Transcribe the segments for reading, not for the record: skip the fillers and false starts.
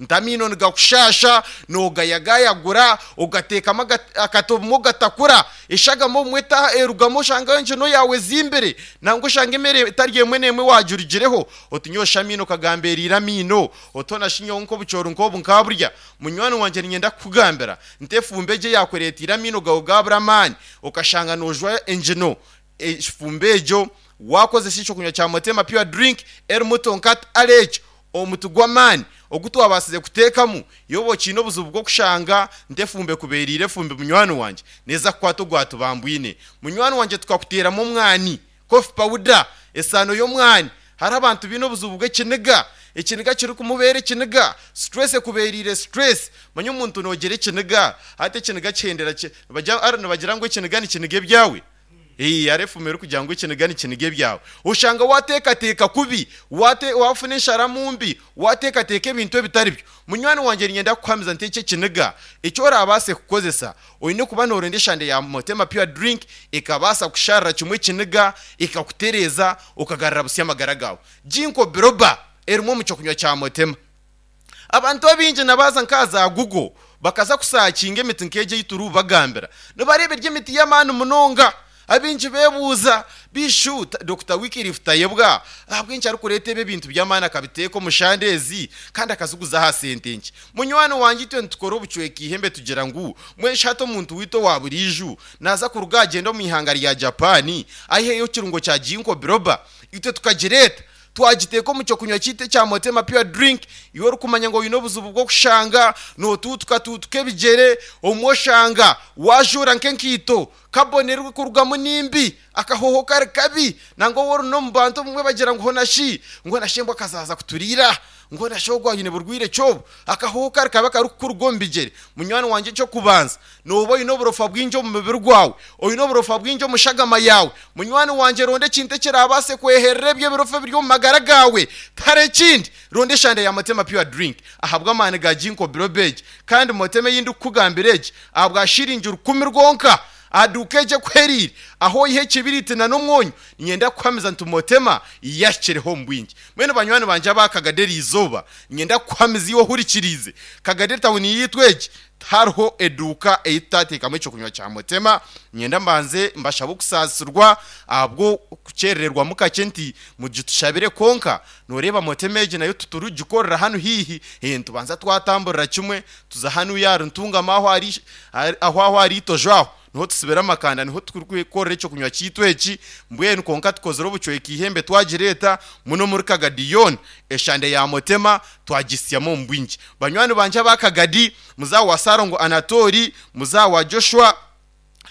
Nti amaino nigakushaasha, noogayagayagura, ogateekamu akati obumwe ogatakura, eshagama obumwe erugamu oshanga engino yaawe ezimbire, nangwa oshanga emere etari emwe n'emwe waagirugireho. Oti nyowe shi amaino kagambeereire amaino, oti hoona shi nyowe nk'obucoori nk'obu nkaaburya? Munywani wangye niinyenda kukugambira nti efumbi egyo eyaakureeteire amaino gaawe gaabura amaani, okashanga noojwa engino, efumbi egyo waakozesa ekyokunywa kya Motema Pure Drink erimu Tonkat Aloe, omuti gw'amaani ogu twabaasize kuteekamu, iwe oba okiine obuzibu bw'okushanga nti efumbi ekubeereire efumbi munywani wangye, neeza kukwata ogwatubambwine. Munywani wangye tukakuteeramu omwani, coffee powder, esaano y'omwani. Hariho abantu baine obuzibu bw'ekiniga, ekiniga kirikumubeera ekiniga, stress ekubeereire stress. Manya omuntu noogira ekiniga, hati ekiniga kihendera ki, nibagira ngu ekiniga nikiniga ebyawe. Eeh hariho efumu erikugira ngu ekiniga nikiniga ebyawe. Oshanga wateekateeka kubi, wate wafuna ensharamu mbi, wateekateeka ebintu ebitari byo. Munywani wangye niinyenda kukuhamiza nti eki ekiniga eki oraabaase kukozesa, oine kuba nooronda eshande ya Motema Pure Drink ekabaasa kusharira kimwe ekiniga, ekakutereeza, okagarura busya amagara gaawe. Ginkgo Biloba erimu omu kyokunywa kya Motema. Abantu abaingi na baaza nk'aha za Google bakaza kusaakinga emiti nk'egyo ei turikubagambira, nibareeba eri emiti y'amaani munonga. Abaingi beebuuza, Bishu, Dokita Wycliffe Tayebwa ahabw'enki arikureeta ebi ebintu by'amaani akabiteeka omu shande ezi kandi akaziguza aha sente nkye? Munywani wangye itwe nitukora obucweka eihembe tugira ngu mbwenu shi hati omuntu waitu owa buriijo naaza kuruga agyende omu ihanga rya Japan aiheyo ekirungo kya Ginkgo biloba itwe tukagireeta Twagiteeka omu ky'okunywa kyaitu ekya Motema Pure Drink, iwe orikumanya ngu oine obuzibu bw'okushanga nootuutukatuutuka ebigyere, obumwe oshanga waajuura nk'enkaito, carbon erikurugamu ni mbi, akahooho kari kabi, nangwa waaba ori n'omu bantu obumwe bagira ngu hoona shi, ngu hoona shi embwa ekazaaza kuturiira, ngu hoona shi ogu aine burwaire ki obu? Akahooho kari kabi akarikukuruga omu bigyere. Munywani wangye eky'okubanza, Nooba oine oburofa bwingi omu mubiri gwawe, oine oburofa bwingi omu shagama yaawe. Munywani wangye ronda ekintu ekiraabaase kweherera ebyo ebirofa ebiri omu magara gaawe. Tihariho ekindi, ronda eshande ya Motema Pure Drink ahabw'amaani ga Ginkgo Biloba egi. Kandi Motema ei ndikukugambira egi ahabwa shiringi rukumi rwonka. Aha duuka egi ekuhereire, ahu oiha ekibiriiti na n'omwonyo, niinyenda kukuhamiza nti Motema yahikireho omu bwingi. Mbwenu banywani bangye aba Kagadi eri izooba, niinyenda kukuhamiza iwe ohurikiriize, Kagadi etawuni yaitu egi, Tihariho eduuka ei tutateekamu eky'okunywa kya Mutema. Niinyenda mbanze mbashabe okusaasirwa ahabw'okukyerererwamu kakye nti mugitushabire kwonka nooreeba Mutema egi nayo titurikugikorera hanu haihi, nitubanza twatamburira kimwe tuza hanuya ahari Ntungamo ahu ahari ahu ahu ahari Itojo aho niho tusibira amakanda niho turikukorera eky'okunywa kyaitu eki mbwenu kwonka tukozire obucweka eihembe twagireeta muno omuri Kagadi yoona eshande ya Mutema twagisyamu omu bwingi. Banywani bangye aba Kagadi, muzaa wa Ssalongo Anatooli, muzaa wa Joshua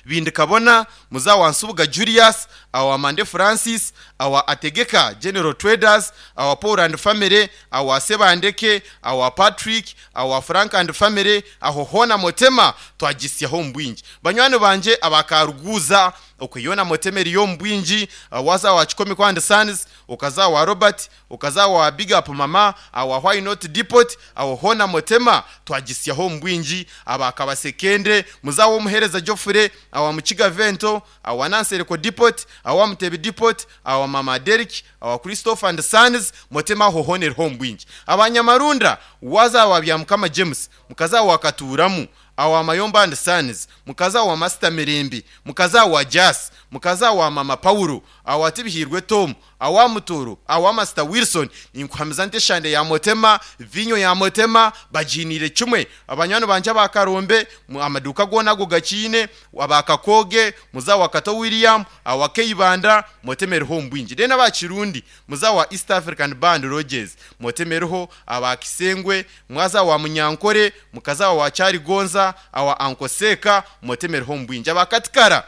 Bindikabona, muzaa wa Nsubuga Julius, awa Mande Francis, awa Ategeka General Traders, awa Paul and Family, awa Sebandeke, awa Patrick, awa Frank and Family, aho hoona Motema twagisyaho omu bwingi. Banywani bangye aba Karuguuza, okwe yoona Motema eriyo omu bwingi, waza awa Kikomeko and Sons, okaza awa Robert, Okaza awa big up mama awa why not depot awo hoona motema twagisyaho omu bwingi aba kabasekende muze awa omuhereza Geoffrey awa mukiga vento awa nansereko depot awa mutebi depot awa mama Derrick awa Christopher and sons motema aho hoona eriho omu bwingi aba nyamarunda waza awa byamukama James mukaza awa katuuramu awa Mayomba and Sons, mukazi awa Masita Mirembe, mukazi awa Jas, mukazi awa Mama Paulo, awa Tibihirwe Tom, awa Mutooro, awa Masita Wilson, ninkuhamiza nti eshande ya Motema, viinyo ya Motema, bagiiniire kimwe. Abanywani bangye aba Karombe, amaduuka goona ago gakiine, aba Kakooge, muze awa Kato William, awa Keibanda, Motema eriho omu bwingi. Then aba Kirundi, muze awa East African Band Lodges, Motema eriho, aba Kisengwe, Mwaza awa Munyankore, mukazi awa Kyarigonza, awa Anko Seeka, motemereho omu bwingi. Aba Katikara,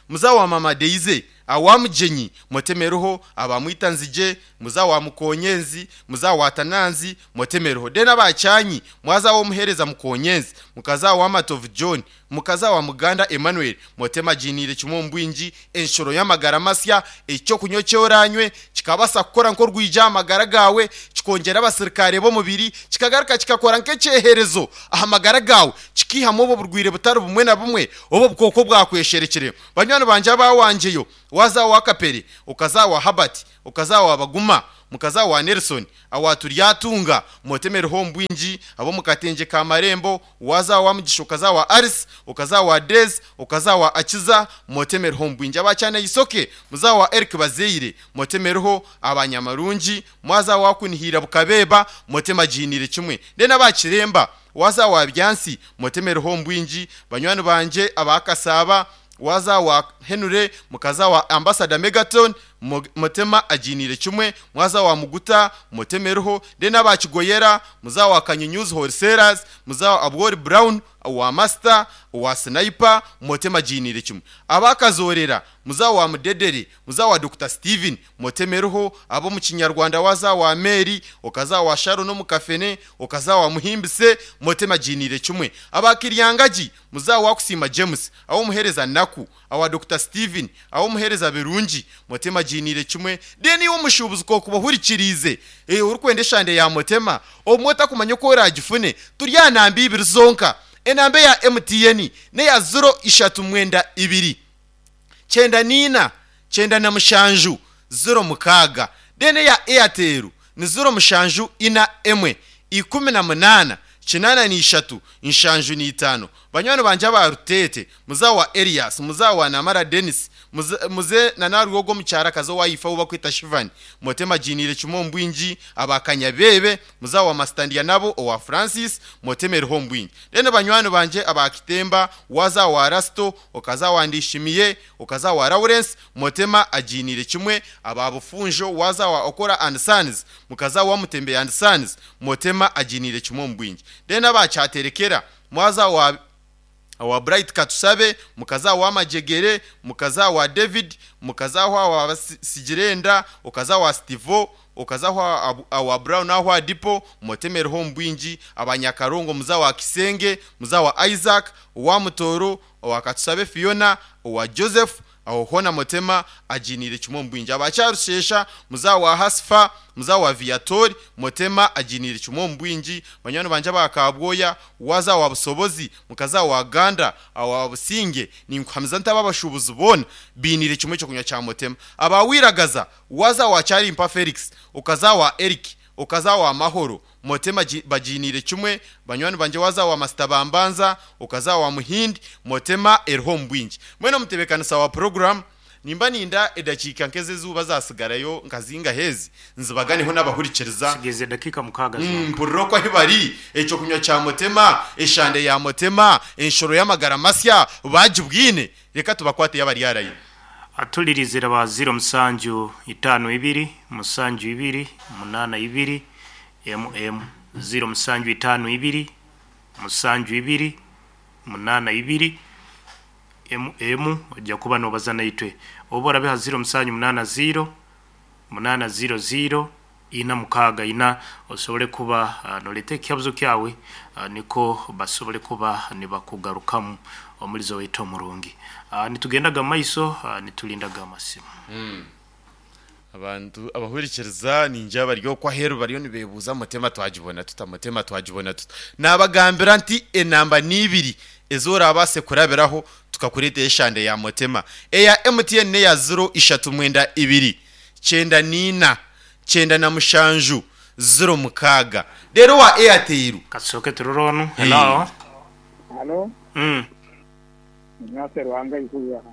muze awa Mama Deize, awa Mugyenyi, motemereho, aba Mwitanzigye, muze awa Mukonyenzi, muze awa Tananzi, motemereho. Then aba Kyanyi, mwaza awa Omuhereza Mukonyenzi, mukazi awa Matovu John, mukazi awa Muganda Emmanuel, motema agiiniire kimwe omu bwingi, enshuro y'amagara masya, eky'okunywa eki oraanywe kikabaasa kukora nk'orwigi aha magara gaawe, kikongyera abasirikare b'omubiri, kikagaruka kikakora nk'ekyeherezo aha magara gaawe, kikiihamu obwo burwaire butari bumwe na bumwe obu obukooko bwakwesherekire. Banywani bangye abaawangyeyo, waaza awa Kapere, okaza awa Herbert, okaza awa Baguma, Mukaza wa Nelson awa Turyatunga Motemereho omu bwingi ab'omu katengye ka Marembo Waza owa Mugisha okaza owa Alice okaza owa Daisy okaza owa Akiza Motemereho omu bwingi aba Kyanaisoke muza owa Eric Bazeire Motemereho aba Nyamarungi mwaza owa Kunihiira Bukabeeba Motemagiiniire kimwe Then aba Kiremba waza owa Byansi Motemereho omu bwingi banywani bangye aba Kasaaba Waza wa Henry mukaza wa Ambassador Megaton Motema agiiniire kimwe, mwaza wa Muguta Motemereho, then aba Kigoyera, muza wa Kanyunyuzi Wholesalers, muza wa Abwori Brown, owa Master, owa Sniper, Motema agiiniire kimwe. Aba Kazorera, muza wa Mudedere, muza wa Dokita Steven, Motemereho, ab'omu Kinyarwanda waza wa Mary, okaza wa Sharon omu Kafene, okaza wa Muhimbise, Motema agiiniire kimwe. Aba Kiryangagi, Muza wa Kusiima James, aw'omuheereza Naku, awa Dokita Steven, aw'omuheereza Birungi, Motema agiiniire kimwe. Then iwe omushuubuzi k'okuba ohurikiriize, eh, orikwenda eshande ya Motema, obumwe otakumanya oku oraagifune, turi aha namba ibiri zonka. Enamba eya MTN n'eya ziro ishatu mwenda ibiri, kyenda n'ina, 97, 06. Then eya Airtel ni ziro mushanju ina emwe, 18, 83, 75. Banywani bangye aba Ruteete, muzaa wa Elias, muzaa wa Namara Denis, muze na Narwogo omukyarakazi owa ifa ou bakweta Shivani, Motema agiiniire kimwe omu bwingi, aba Kanyabeebe, muzaa wa Masita Ndyanabo owa Francis, Motema eriho omu bwingi. Then banywani bangye aba Kitemba, waza owa Rasito, okaza owa Ndishimiye, okaza owa Lawrence, Motema agiiniire kimwe, aba Bufunjo, waza owa Okora and Sons, mukaza owa Mutembe and Sons, Motema agiiniire kimwe omu bwingi. Then aba Kyaterekera, mwaza owa owa Bright Katusabe, mukaza owa Majegere, mukaza owa David, mukaza owa Sigirenda, okaza owa Stivo, okaza owa Brown aho aha Dipo, Motema eriho omu bwingi, aba Nyakarongo muza owa Kisenge, muza owa Isaac, owa Mutooro, owa Katusabe Fiona, owa Joseph, Aho hoona Motema agiiniire kimwe omu bwingi. Aba Kyarushesha, muzaa wa Hasifa, muzaa wa Viatori, Motema agiiniire kimwe omu bwingi. Banywani bangye aba Kabwoya, waaza owa Busobozi, mukaza owa Ganda, owa Businge, ninkuhamiza nti aba abashuubuzi boona bainiire kimwe ekyokunywa kya Motema. Aba Wiragaza, waaza owa Kyarimpa Felix, okaza owa Eric, okaza owa Mahoro, Motema bagiiniire kimwe. Banywani bangye waaza owa Masita Bambanza, okaza owa Muhindi, Motema eriho omu bwingi. Mbwenu omutebeekanisa wa puroguraamu, nimba ninda edakiika nk'ez'eizooba zaatsigarayo nka zingahi ezi, nzibaganeho n'abahurikiriza. Nsigaije edakiika mukaaga zonka. Mpurire oku ahi bari, eky'okunywa kya Motema, eshande ya Motema, enshoro y'amagara masya, baagibwine. Reka tubakwateyo abari harayo. Atulirize ba ziro musanju itaano ibiri musanju ibiri munaana ibiri mm ziro musanju itaano ibiri musanju ibiri munaana ibiri mm oija kuba nobaza naitwe. Oba orabe ha ziro musanju munaana ziro munaana ziro ziro ina mukaaga ina osobole kuba noreeta ekihabuzo kyawe nikwo basobole kuba nibakugarukamu omulizo waitu omurungi. Nitugendaga mumaiso nitulindaga amasimu. Abantu abahurikiriza ningira bari okwo aheeru bariyo nibeebuuza Mutema twagibona tuta, Mutema twagibona tuta? Naabagambira nti enamba ni ibiri ezi oraabaase kurabiraho tukakureetera eshande ya Mutema. Eya MTN n'eya ziro ishatu mwenda ibiri, 94, 97, 06. Reero owa Airtel. Katusooke turore onu. Hello. Halo. Nyaase Ruhanga aihurwe aha.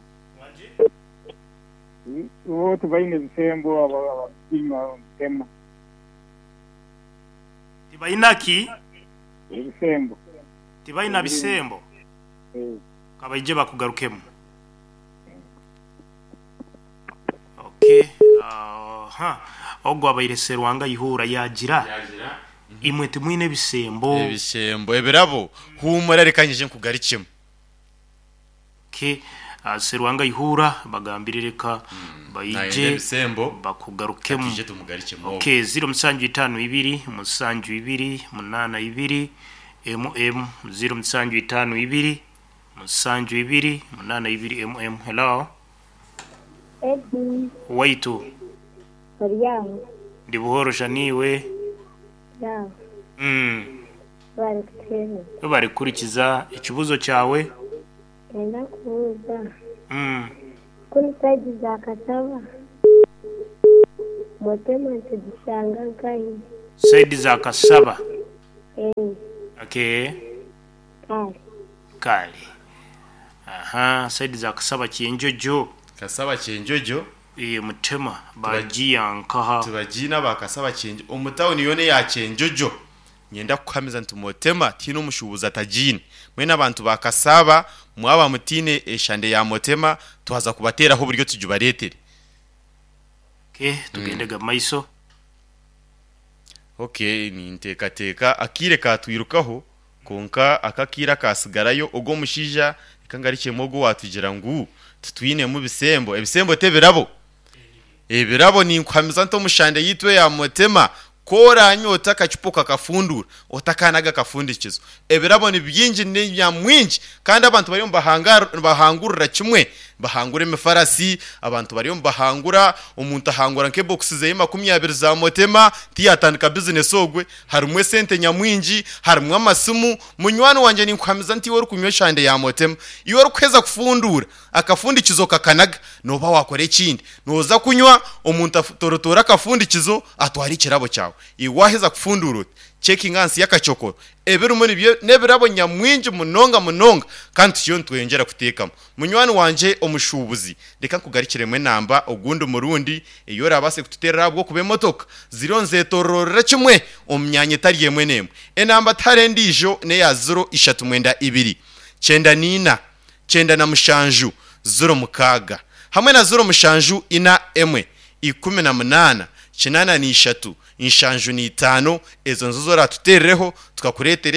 Bo tibaine bisembo abakunywa Mutema. Tibaina ki? Ebisembo. Tibaina bisembo? Ka baije bakugarukemu. Okay. Aha. Ogwo abaire Serwanga Ihura yaagira, Imwe timwine ebisembo. Ebisembo, ebirabo. Huumura reka nyije nkugarukemu. Okay. Serwanga Ihura bagambire reka Nayenda baije ebisembo, bakugarukemu. Katwije tumugarukemu obwo. Okay, ziro musanju itaano ibiri musanju ibiri munaana ibiri mm ziro musanju itaano ibiri Musanju ibiri munana ibiri mm Hello. Eddy, Waitu. ori aho? Ndi buhoro sha niiwe? Ndi aho. Bari kutuheereza. Webare kuhurikiza. Ekibuuzo kyawe? Niinyenda kubuuza, kunu sayidi za Kataba? Motema nitugishanga nkahi? Saidi za Kasaba. Eeh. Okay. Kale. Kale. Aha, saidi za Kasaba Kyenjojo. Kasaba Kyenjojo. Eeh Mutema bagiya nkaha? Tibagiine aba Kasaba Kyenjojo. Omu tawuni yoona eya Kyenjojo Niinyenda kukuhamiza nti Motema tihaine omushuubuzi atagiine. Mbwenu abantu ba Kasaaba mwaba mutaine eshande ya Motema twaza kubateeraho oburyo tugibareetere. Okay, tugende ga maiso. Okay, ninteekateeka akaire kaatwirukaho kwonka aka akaire akaatsigarayo ogu omushaija reka ngarukyemu ogu owaatugira ngu titwinemu bisembo. Ebisembo t'ebirabo. Ebirabo ninkuhamiza nti omushande yaitu eya Motema ku oranywa oti akacupa okakafunduura otakanaga akafundikizo. Ebirabo ni bingi ni nyamwingi kandi abantu bariyo nibahangurira kimwe. Nibahangura emifarasi, abantu bariyo nibahangura, omuntu ahangura nk'ebokisi zeye 20 za Motema tiyatandika bizinesi ogwe. Harimu esente nyamwingi, harimu amasimu. Munywani wangye ninkuhamiza nti iwe orikunywa eshande ya Motema, iwe orikuheza kufunduura Akafundikizo kakanaga, nooba waakora ekindi. Nooza kunywa, omuntu atorotoore akafundikizo atware ekirabo kyawe. Iwe waaheza kufunduura oti, Checkinga ahansi y'akacokoro. Ebirimu nibyo n'ebirabo nyamwingi munonga munonga kandi tukiriyo nitweyongyera kuteekamu. Munywani wangye omushuubuzi, reka nkugarukiremu enamba ogundi murundi ei oraabaase kututeerera ahabw'okuba emotoka ziriyo nizeetooroorera kimwe omu myanya etari emwe n'emwe. Enamba tihariho endiijo n'eya ziro ishatu mwenda ibiri, kyenda n'ina, 97 06 hamwe na 07 4 18 83 75 ezo nizo ezi oratuteerereho tukakureetera.